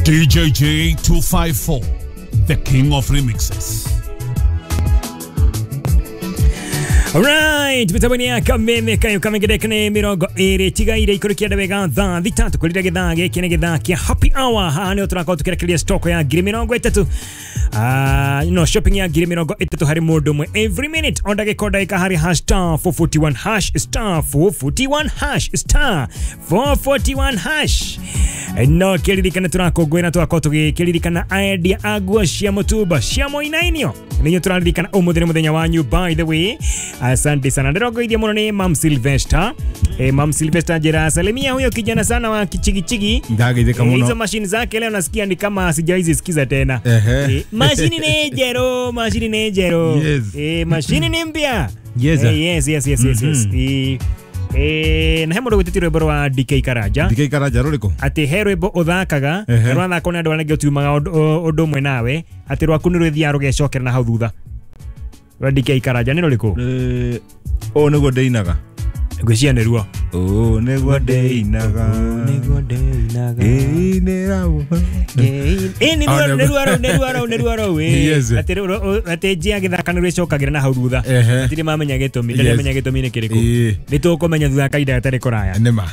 DJJ 254, the king of remixes. Alright, mitambo ya kameme kayo kamegedeka nĩ mĩrongo ĩrĩ tigaire ikũrũkia wega thaa thita tũkũrire gĩthaa gĩkĩ nĩ gĩthaa kĩa happy hour. Haha nĩho tũrakorwo tũkĩrekereria stock ya 30,000, no shopping ya 30,000 harĩ mũndũ ũmwe every minute o ndagĩka o ndagĩka harĩ hash star 441 hash star 441 hash star 441 hash. No kĩririkane tũrakũngũĩra tũgakorwo tũgĩkĩririkana endia a nguo cia mũtumba cia mũinainio nĩinyuĩ tũraririkana ũmũthĩ nĩ mũthenya wanyu. By the way, asante sana. Ndĩrongoithia mũno nĩ Mam Sylvester. Mam Sylvester njĩra salimia huyo kijana sana wa kichigichigi. Ndageithĩka mũno. Hizo mashini zake leo nasikia ni kama sijawahi sikiza tena. Mashini ni njerũ, mashini ni njerũ. Yes. Mashini ni mpya. Yes. Yes, yes, yes, yes, yes. Na he mũndũ gwĩtĩtie rwĩmbo rwa DK Karanja. DK Karanja rũrĩkũ? Atĩ he rwĩmbo ũthakaga rwathakwo nĩ andũ arĩa angĩ ũtiumaga ũndũ ũmwe nawe, atĩ rwaku nĩ rwĩthiaga rũgecokera na hau thutha. Rwa DK Karanja nĩ rũrĩkũ? Ũũ nĩguo ndĩinaga. Ngwĩciria nĩruo. Ũũ nĩguo ndĩinaga. Nĩguo ndĩinaga. Ngĩinĩra Ĩĩ nĩruo rũu, nĩruo rũu, nĩruo rũu. Atĩ atĩ njia gĩthaka nĩ rwĩcokagĩra na hau thutha. Hatirĩ mamenya gĩtũmi, ndarĩ menya gĩtũmi nĩ kĩrĩkũ. Nĩ tũkũmenya thutha kahinda gatarĩ kũraya. Nĩma.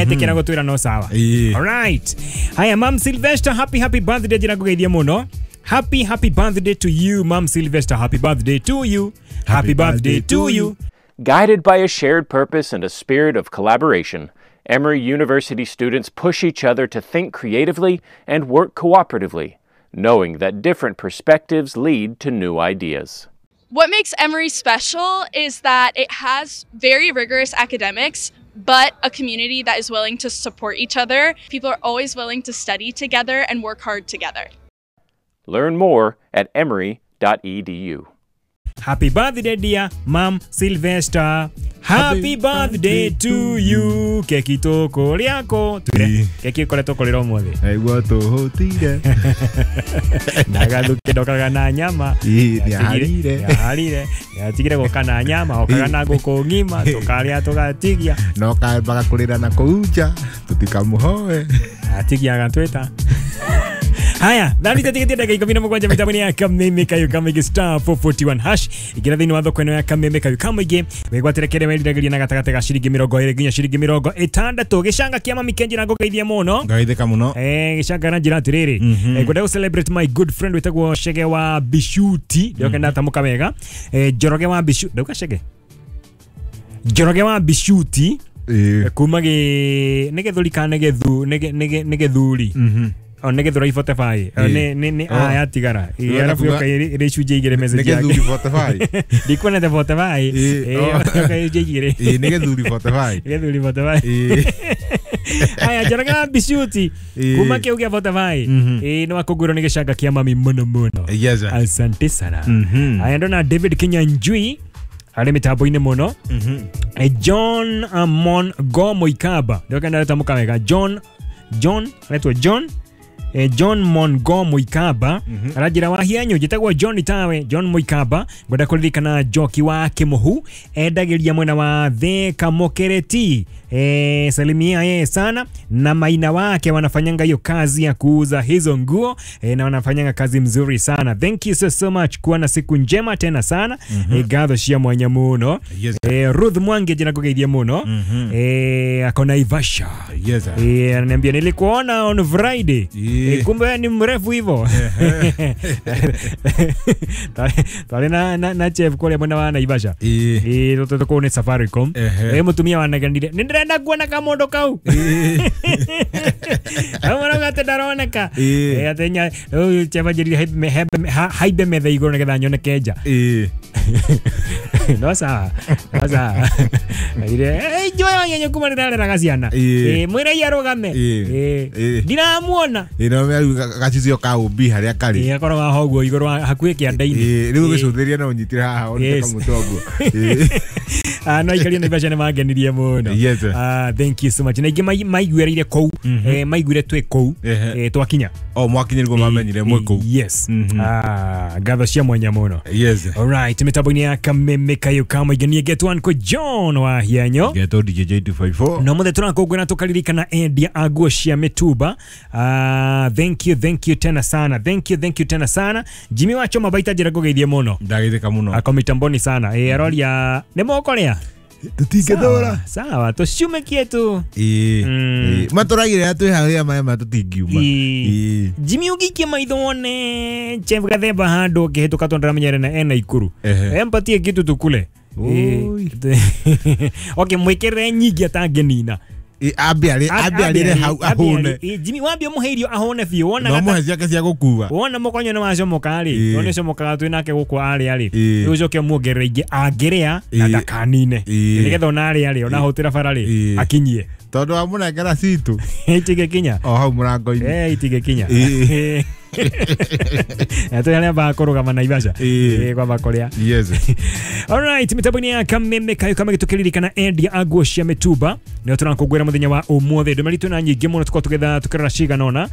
Etĩkĩra gũtwĩra no sawa. Alright. Haya, Mam Sylvester, happy happy birthday, njĩra ngũgeithie mũno. Happy happy birthday to you, Mam Sylvester. Happy birthday to you. Happy birthday to you. Guided by a shared purpose and a spirit of collaboration, Emory University students push each other to think creatively and work cooperatively, knowing that different perspectives lead to new ideas. What makes Emory special is that it has very rigorous academics, but a community that is willing to support each other. People are always willing to study together and work hard together. Learn more at emory.edu. Happy birthday, dear Mam Sylvester. Happy birthday to you. Keki tũkũrĩako. Keki ũkoretwo ũkũrĩra ũmũthĩ. Naigua tũhũtire. Ndagathuke ndokaga na nyama. Nĩaharire. Nĩaharire. Nĩatigire gũka na nyama, okaga na ngũkũ ng'ima, tũkarĩa tũgatigia. No kambaga kũrĩra na kũu nja, tũtikamũhoe. Atigia agatwĩta. Haya, thani tatigĩtie ndagĩka 17 mitambo-inĩ ya Kameme Kayo Kamĩingĩ star 441 hash. Ingĩra thĩinĩ wa thoko ĩno ya Kameme Kayo Kamĩingĩ wĩgwatĩre kĩrĩa weriragĩria na gatagatĩ ga ciringi 20 nginya ciringi 60. Gĩcanga kĩa Mami Kenji na ngũgeithie mũno. Ngageithĩka mũno. Gĩcanga na njĩra atĩrĩrĩ, ngwenda gũ celebrate my good friend wĩtagwo Chege wa Bishuti. Ndĩroka ndatamũka wega. Njoroge wa Bishuti. Ndauga Chege. Njoroge wa Bishuti. Kuma gĩ nĩ gĩthũri kana nĩ gĩthu nĩ gĩthuri. O nĩ gĩthũrai 45 nĩ aya tigara arabu yoka ĩrĩ icunjĩ igĩrĩ message yake. Nĩ gĩthuri 45. Ndikuonete 45. Yoka icunjĩ igĩrĩ. Nĩ gĩthuri 45. Gĩthuri 45. Aya, Njoroge wa Bishuti kuma kĩu gĩa 45 nĩ wakũngũĩrwo nĩ gĩcanga kĩa mami mũno mũno. Asante sana. Aya, ndona David Kinyanjui arĩ mĩtambo-inĩ mũno. John Amon Gomoikaba. Ndĩroka ndatamũka wega. John aretwo John John Mongo Muikaba aranjĩra wa hianyu njĩtagwo John Tawe John Muikaba ngwenda kũririkana Njoki wa Kĩmũhu endagĩria mwena wa Thika Mũkĩrĩti. Salimia yeye sana na maina wake wanafanyanga hiyo kazi ya kuuza hizo nguo, na wanafanyanga kazi mzuri sana. Thank you so, so much. Kuwa na siku njema tena sana. Gatho cia mwanya mũno. Yes. Ruth Mwangi njĩra ngũgeithie mũno. Akona Ivasha. Yes. Ananiambia nilikuona on Friday. Kumbe ni mrefu hivyo. Twari na chef kũrĩa mwena wa Naivasha. Tũkũu nĩ Safaricom. Mũtumia wanaganire nĩ ndĩrenda kuona kamondo kau. Amara gate ndaroneka. Atĩ nya rĩu chef anjĩrire haimbe metha igũrũ nĩgetha nyone kenja. No sawa. No sawa. Ire njoya nyenye kuma ndĩrareraga ciana. Mwĩre arũgame. Ndiramuona. No gacicio ka ũmbi harĩa karĩ. Akorwo haha ũguo igũrũ hakuhĩ kĩanda-inĩ. Rĩu ũgĩcũthĩrĩria no ũnyitire haha one kamũtwe ũguo. No aikaria Naivasha nĩ mangenirie mũno. Thank you so much. Na ingĩ maiguĩrĩire kũu, maiguire twĩ kũu, twakinya. O mwakinya nĩguo mamenyire mwĩ kũu. Yes. Ngatho cia mwanya muno. Yes. Alright, mitambo-inĩ ya Kameme Kayo ka Mũingĩ niĩ ngetwo Uncle John wa Hianyo. Ngetwo DJ 254. No mothe tũrakũngũĩra tũkaririkana endia a nguo cia mĩtumba. Thank you tena sana. Thank you tena sana. Jimmy wa Choma baita njĩra ngũgeithie mũno. Ndageithĩka mũno. Ako mitamboni sana. Aroria nĩ mũkũrĩa? Tũtingĩthũra. Sawa, tũciumekie tu. Matũragire twĩ harĩa maĩ maya tũtingiuma. Jimmy ũngĩikia maitho wone Chef Gathemba handũ ũngĩhĩtũka tondũ ndĩramenyere na ena ikuru. Empatie kitu tukule. Okay, mwĩkĩrĩre nyingĩ atangĩnina. Ambe arĩre hau ahũne. Jimmy wambie mũhe irio ahũne biũ. Wona no mũhe ciake cia gũkua. Wona mũkonyo nĩ wacomoka rĩ, tondũ nĩcomokaga twĩ nake gũkũ arĩa rĩ, rĩu ũcoke muongerere ingĩ angĩrĩa na ndakanine, nĩgetha ona arĩa rĩ, ona ahũtĩra bara rĩ, akinyie. Tondũ wamũnengera citũ itingĩkinya o hau mũrango-inĩ. Itingĩkinya. Twĩ harĩa ambaga kũrũgama Naivasha kwamba kũrĩa. Yes. Alright, mitambo-inĩ ya Kameme Kayo ka Mũingĩ tũkĩririkana endia a nguo cia mĩtumba nĩo tũrakũngũĩra mũthenya wa ũmũthĩ. Ndũmĩrĩri twĩna nyingĩ mũno tũkorwo tũgĩtha tũkĩrora cigana ũna.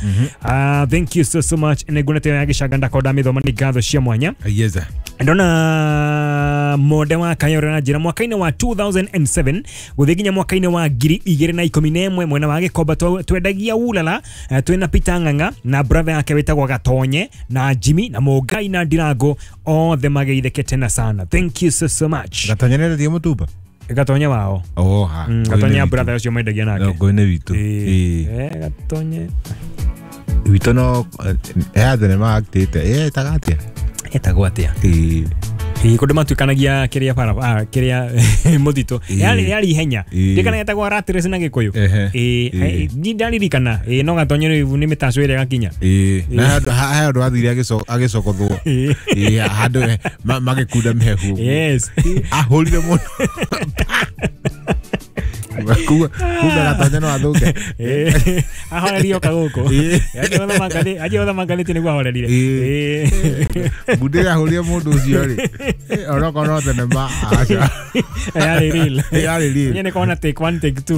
Thank you so much. Nĩnguonete ya gĩcanga ndakorwo ndamĩthoma, nĩ ngatho cia mwanya. Yes. Ndona monde wa Kayore na njĩra mwaka-inĩ wa 2007 gũthiĩ nginya mwaka-inĩ wa 2011 mwena wa Gĩkomba twendagia ulala twĩna Peter Ng'ang'a na brother yake wĩtagwo Gatonye na Jimmy na Mũngai na Ndirango othe mageithĩke tena sana. Thank you so much. Gatonye nĩ endagia mũtumba? Gatonye wao. Oh, ha. Gatonye brother ũcio mendagia nake. Ngũĩ-inĩ witũ. Gatonye witũ no he thenema actĩte ĩtaga atĩa? Etagwo atĩa? Kũndũ matuĩkanagia kĩrĩa bara kĩrĩa mũtitũ yarĩ ihenya ndikana etagwo rat race na Gĩkũyũ. Ndaririkana no Gatonye rĩu nĩ mĩtaco ĩrĩa gakinya. Na he handũ athire agĩcokothwo handũ magĩkunda mĩhehu. Yes. Ahũrire mũno. Kuga Gatonye no athũke. Ahorerio kagũkũ. Anjie gũthoma ngathĩti nĩguo ahorerire. Mbunde ĩrĩa ahũrire mũndũ ũcio rĩ, onokorwo no thenema aca. Yarĩ real. Yarĩ real. Niĩ nĩkona take one take two.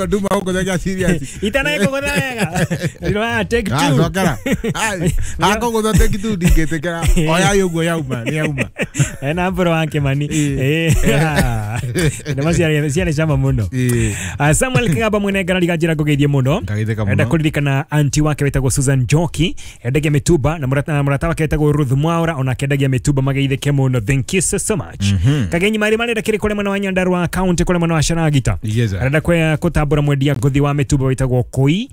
Nduma gũkũthakia serious. Itanekũgũtha wega. Ndĩroya take two. Cokera. Akũgũtha take two ndingĩtĩkĩra. Oyai ũguo yauma, nĩ yauma. Ena mbũrũ wa Kĩmani. Ciarĩ cama mũno. Samuel Kigamba mwene ngarariga njĩra ngũgeithie mũno. Enda kũririkana anti wake wĩtagwo Susan Njoki endagia mĩtumba na mũrata wake wĩtagwo Ruth Mwaura onake endagia mĩtumba mageithĩke mũno. Thank you so much. Kagenyi marĩ marenda kĩrĩ kũrĩ mwena wa Nyandarua county kũrĩ mwena wa Sharagita. Arenda kũtambũra mwendia ngũthi wa mĩtumba wĩtagwo Koi.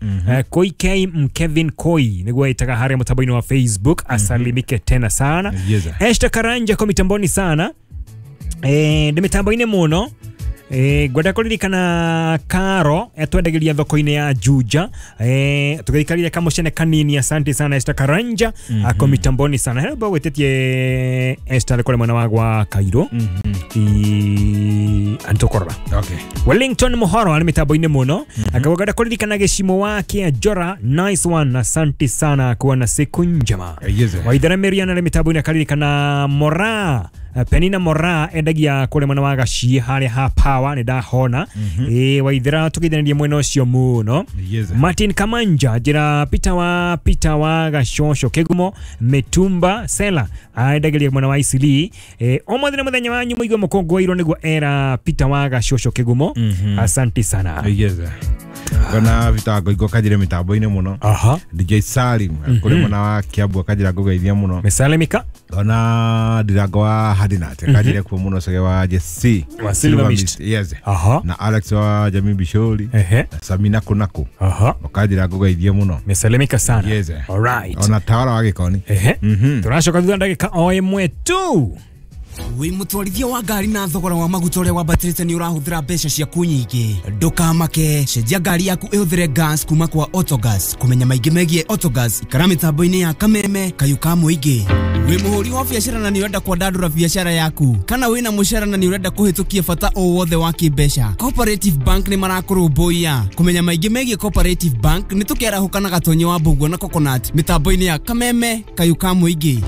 Koi K Kevin Koi nĩguo ĩtaga harĩa mũtambo-inĩ wa Facebook. Asalimike tena sana. Esther Karanja kwa mitamboni sana. Ndĩ mĩtambo-inĩ mũno. Ngwenda kũririkana Karo etwendagĩria thoko-inĩ ya Juja. Tũgĩikarire kamũcene kanini. Asante sana Esther Karanja ako mitamboni sana. Hero gwĩtĩtie Esther kũrĩ mwena wa gwa Cairo. Antũkorora. Okay. Wellington Muhoro arĩ mĩtambo-inĩ mũno. Akagwenda kũririkana gĩcimo wake Njora. Nice one. Asante sana, kuwa na siku njema. Waithera Miriam arĩ mĩtambo-inĩ akaririkana Mora Penina Mora endagia kũrĩ mwena wa Gaciĩ harĩa ha Power nĩ ndahona. Waithera tũgeithanagia mwena ũcio mũno. Martin Kamanja njĩra Peter wa Gacoco Kĩgumo Mĩtumba Sela aendagia mwena wa Isili. Ũmũthĩ nĩ mũthenya wanyu mũigue mũkũngũĩirwo nĩguo era Peter wa Gacoco Kĩgumo. Asante sana. Kana Peter Ngoingo kanjire mitambo-inĩ mũno. DJ Salim kũrĩ mwena wa Kiambu akanjĩra ngũgeithia mũno. Mesalimika. Ona Ndirango wa Hadinat kanjire kuo mũno Cege wa JC wa Silver Mist. Yes. Na Alex wa Jamii Bishori na Samina Kunako. Akanjĩra ngũgeithia mũno. Mesalimika sana. Yes. All right. Ona Tawara wa Gĩkoni. Tũracoka thutha ndagĩka o ĩmwe tu. Wi mutwarithia wa ngari na thogora wa maguta uria wambatĩrĩte nĩ ũrahũthĩra mbeca ciaku nyingĩ, ndũkamake, cenjia ngari yaku ĩhũthĩre gas kuma kwa Autogas. Kũmenya maingĩ megiĩ Autogas, ikara mĩtambo-inĩ ya Kameme Kayũ ka Mũingĩ. Wĩ mũhũri wa biacara na nĩ ũrenda kwandandũra biacara yaku, kana wĩna mũcara na nĩ ũrenda kũhĩtũkia bata o wothe wa kĩmbeca, Cooperative Bank nĩ marakũrũmbũiya. Kũmenya maingĩ megiĩ Cooperative Bank nĩ tũkĩarahũka na Gatonye wa Mbũguo na Coconut mĩtambo-inĩ ya Kameme Kayũ ka Mũingĩ.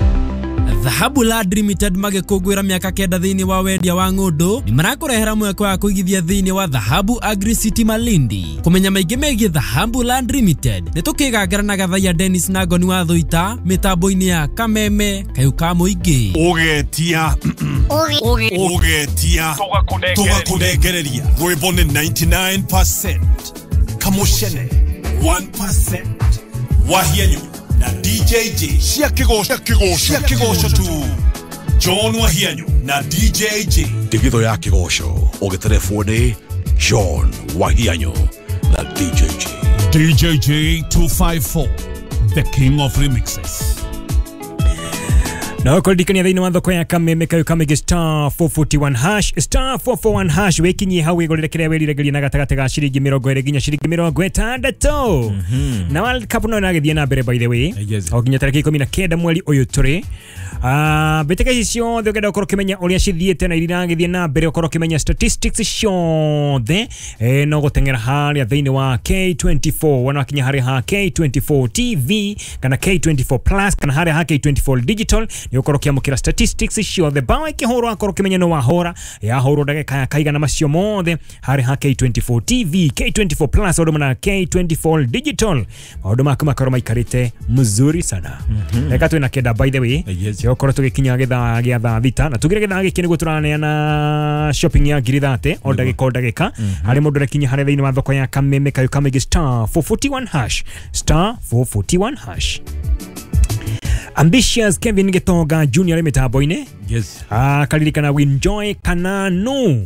Dhahabu Land Limited magĩkũngũĩra mĩaka 9 thĩinĩ wa wendia wa ng'ũndũ nĩ marakũrehera mweke wa kũigithia thĩinĩ wa Dhahabu Agri City Malindi. Kũmenya maingĩ megiĩ Dhahabu Land Limited nĩ tũkĩgangara na Gathaiya Dennis na Ngoni wa Thũita mĩtambo-inĩ ya Kameme Kayũ ka Mũingĩ. Ũgetia ũgetia tũgakũnengereria rwĩmbo nĩ 99% Kamushene 1% Wahianyu na DJJ cia kĩgoco tu. John Wahianyu na DJJ Ndigitho ya kĩgoco ũgĩterebwo nĩ John Wahianyu na DJJ. DJJ 254, the king of remixes. Na kũririkania thĩinĩ wa thoko ya Kameme Kayũ Kamĩngĩ star 441 hash star 441 hash wĩkinyie hau wĩgũrĩre kĩrĩa wĩriragĩria na gatagatĩ ga ciringi 20 nginya ciringi 60. Na World Cup no ĩragĩthiĩ na mbere by the way o nginya tarĩki 19 mweri ũyũ tũrĩ. Mbĩtĩka ici ciothe ũngĩenda gũkorwo ũkĩmenya ũrĩa cithiĩte na iria iragĩthiĩ na mbere ũkorwo ũkĩmenya statistics ciothe no gũteng'era harĩa thĩinĩ wa K24 wona wakinya harĩa ha K24 TV kana K24 Plus kana harĩa ha K24 Digital nĩ ũkorwo ũkĩamũkĩra statistics ciothe bao ĩkĩhũrwo akorwo ũkĩmenya nĩ wahũra yahũrwo ndagĩka ya kaigana macio mothe harĩa ha K24 TV K24 Plus ũndũ na K24 Digital maũndũ maku makorwo maikarĩte mzuri sana. Reka twĩna kenda by the way gũkorwo tũgĩkinya gĩthaa gĩa thaa thita na tugire gĩthaa gĩkĩ nĩguo tũraneana shopping ya ngiri 30 o ndagĩka o ndagĩka harĩ mũndũ ũrakinya harĩa thĩinĩ wa thoko ya Kameme Kayũ Kamĩngĩ star 441 hash star 441 hash. Ambitious Kevin Gitonga Junior mĩtambo-inĩ. Yes. Karirikana Winjoy Kananu.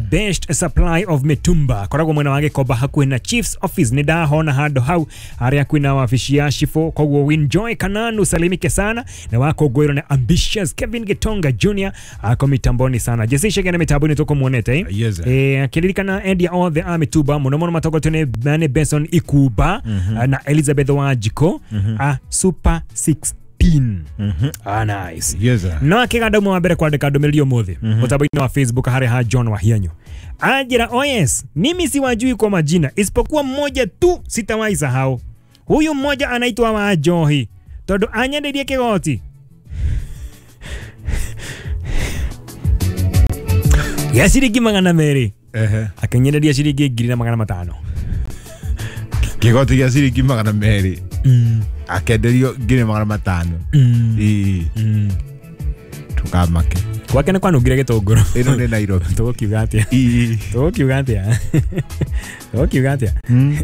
Best supply of mitumba koragwo mwena wa Gĩkomba hakuhĩ na Chiefs office nĩ ndahona handũ hau harĩa kwĩna wabici ya Shifo. Koguo Winjoy Kananu salimike sana na wakũngũĩrwo na Ambitious Kevin Gitonga Junior ako mitamboni sana. Jesse Shegene mitamboni tũkũmuonete. Yes. Akiririkana endia othe a mĩtumba mũno mũno matongoretio nĩ Benson Ikuba na Elizabeth Wanjikũ a Super 6. Nice. Yes. No akiganda mwa mbere kwandika ndũmĩrĩri ũmũthĩ mũtambo-inĩ wa Facebook harĩ ha John Wahianyu anjĩra, oh yes, mimi siwajui kwa majina isipokuwa mmoja tu sitawahi sahau. Huyu mmoja anaitwa Wanjohi tondũ anyendeirie kĩgoti ya ciringi 200 akĩnyenderia ciringi 1500. Kĩgoti gĩa ciringi 200 akenderio 1500. Tukamake gwake nĩ kwanungire gĩtũngũrũ. Ĩno nĩ Nairobi. Tũgũkiuga atĩa? Tũgũkiuga atĩa? Tũgũkiuga atĩa?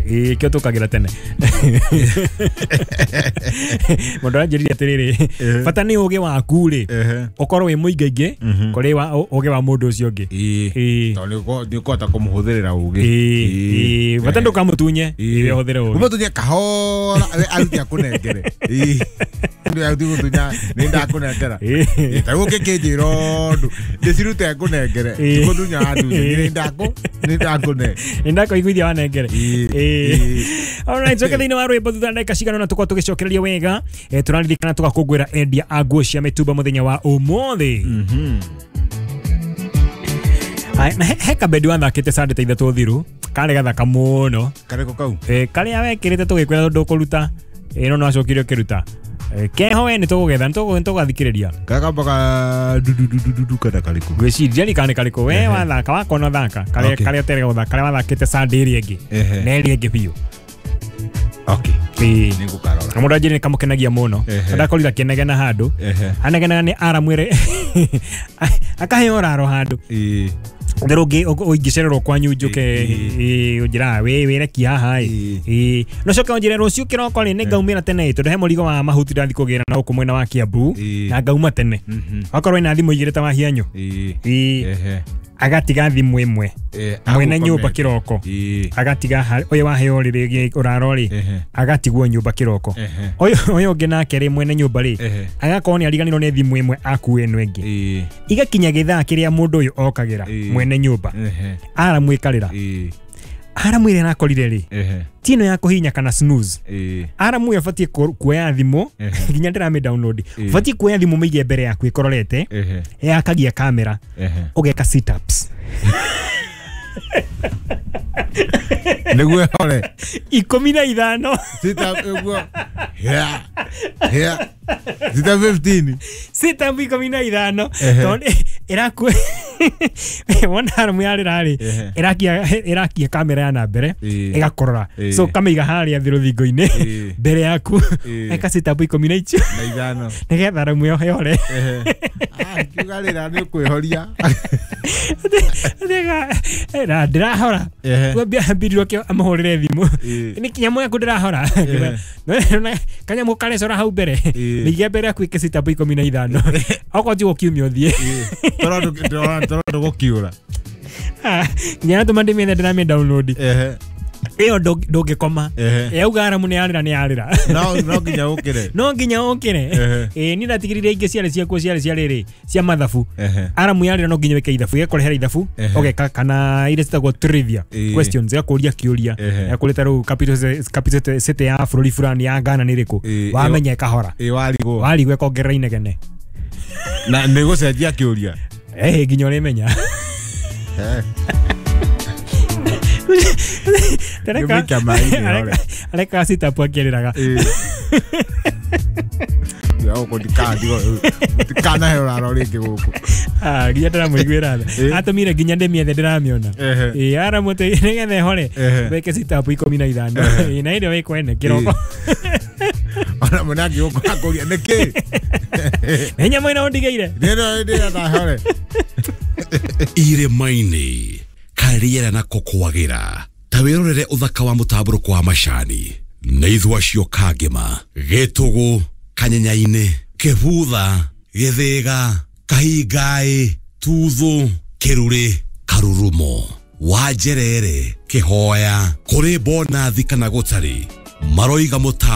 Ĩĩ kĩo tũkagĩra tene. Mũndũ aranjĩrire atĩrĩrĩ, bata nĩ ũgĩ waku rĩ ũkorwo wĩ mũingaingĩ kũrĩ ũgĩ wa mũndũ ũcio ũngĩ. Tondũ nĩ ũkũhota kũmũhũthĩrĩra ũgĩ. Bata ndũkamũtunye we ũhũthĩre ũgĩ. Ũmũtunye kahora we arute akũnengere. Nĩ nĩ ndakũnengera. Ta rĩu ũngĩkĩnjĩra ũndũ ndĩcirute ngũnengere tikũtunya wandunya nĩ ndakũne nĩ ndakũiguithia wanengere. Alright, coke thĩinĩ wa rwĩmbo thutha ndagĩka cigana ũna tũkorwo tũgĩcokereria wega. Tũraririkana tũgakũngũĩra endia a nguo cia mĩtumba mũthenya wa ũmũthĩ. Na he kabendi wathakĩte Sunday ta ithatũ thiru karĩ gathaka mũno. Karĩkũ kau? Karĩa wekĩrĩte tũgĩkwĩra ndũkũruta no no acokire ũkĩruta. Keho we nĩ tũgũgetha nĩ tũgathikĩrĩria kakambaga dududududu kana karĩkũ ngwĩciria nĩ kana karĩkũ we wathaka wakona thaka karĩa karĩa ũterega gũthaka karĩa wathakĩte Sunday ĩrĩa ĩngĩ na ĩrĩa ĩngĩ biũ. Okay. Nĩ ngũkarora. Na mũndũ anjĩrire nĩ kamũkenagia mũno ndakorire akĩnegena handũ anegenaga nĩ aramwĩre akaheo ũraro handũ Ndero ũngĩ ũingĩcererwo kwanyu njũke ũnjĩraga wĩ wĩreki haha ĩ no coke ũnjĩre rũciũ kĩroko rĩ nĩ ngaumĩra tene tondũ he mũrigo wa mahuti ndathiĩ kũgĩra na gũkũ mwena wa Kiambu na ngauma tene wakorwo ena thimũ igĩrĩ ta Wahianyũ agatiga thimũ ĩmwe mwene nyũmba kĩroko agatiga ũyũ waheo rĩrĩ ũraro rĩ agatigwo nyũmba kĩroko ũyũ ũngĩ nake rĩ mwene nyũmba rĩ agakorwo nĩ ariganĩrwo nĩ thimũ ĩmwe akue ĩno ĩngĩ igakinya gĩthaa kĩrĩa mũndũ ũyũ okagĩra mwene nyũmba aramwĩkarĩra aramwĩra arakorire rĩ ti ĩno ya kũhihinya kana snooze aramwĩra ũbatiĩ kuoya thimũ nginya ndĩramĩ download ũbatiĩ kuoya thimũ mĩige mbere yaku ĩkororete yakagia kamera ũgeka sit ups. Nĩguo hore 15 sit up ũguo yeah yeah sit up 15 sit up 15 tondũ ĩraku wona aramu yarĩra rĩ ĩrakia kamera ya na mbere ĩgakorora so kamĩiga harĩa thĩ rũthingo-inĩ mbere yaku eka sit up 15 nĩgetha aramu ĩyo ĩhore. Kiuga rĩra nĩ ũkwĩhoria ndĩrahora ambĩrĩrio kĩo amũhũrĩre thimũ nĩ kĩnyamũ yaku ndĩrahora kanyamũ karecora hau mbere mĩige mbere yaku ĩke sit up 15 okorwo ti gũkiumia ũthiĩ toro ndũgũkiũra nginya natũma ndĩmĩethe ndĩramĩ download ĩyo ndũngĩkoma yauga aramu nĩ yarĩra nĩ yarĩra no nginya ũkĩre no nginya ũkĩre ĩĩ niĩ ndatigĩrĩire ingĩ ciarĩ ciakuo ciarĩ cia rĩrĩ cia mathabu aramu yarĩra no nginya wĩke ithabu ĩgakũrehera ithabu ũgeka kana iria citagwo trivia questions ĩgakũria kĩũria ĩgakũria ta rĩu capital city ya bũrũri fulani ya Ghana nĩ ĩrĩkũ wamenya ĩkahora warigwo ĩkongerera inegene na nĩ gũcenjia kĩũria nginya ũrĩmenya. Areka sit up akĩrĩraga ndikanahe ũraro rĩngĩ gũkũ nginya ndĩramũiguĩra tha atũmire nginya ndĩmĩethe ndĩramĩona ĩĩ aramu atĩ nĩgetha ĩhore wĩke sit up 15 na ĩrĩa wĩkwene kĩroko ona mũna angĩgũka akũria nĩkĩ nĩ nyamũ ĩno ũndigĩire ndĩrenda hore irĩma-inĩ karĩera nako kwagĩra ta wĩrorere ũthaka wa mũtambũrũko wa macani nĩ ithua cio Kangema Gĩtũgũ Kanyenyainĩ Kĩbutha Gĩthĩga Kahingaĩ Tuthũ Kĩrurĩ Karurumo Wanjerere Kĩhoya kũrĩ bonathi kana gũtarĩ maroiga mũta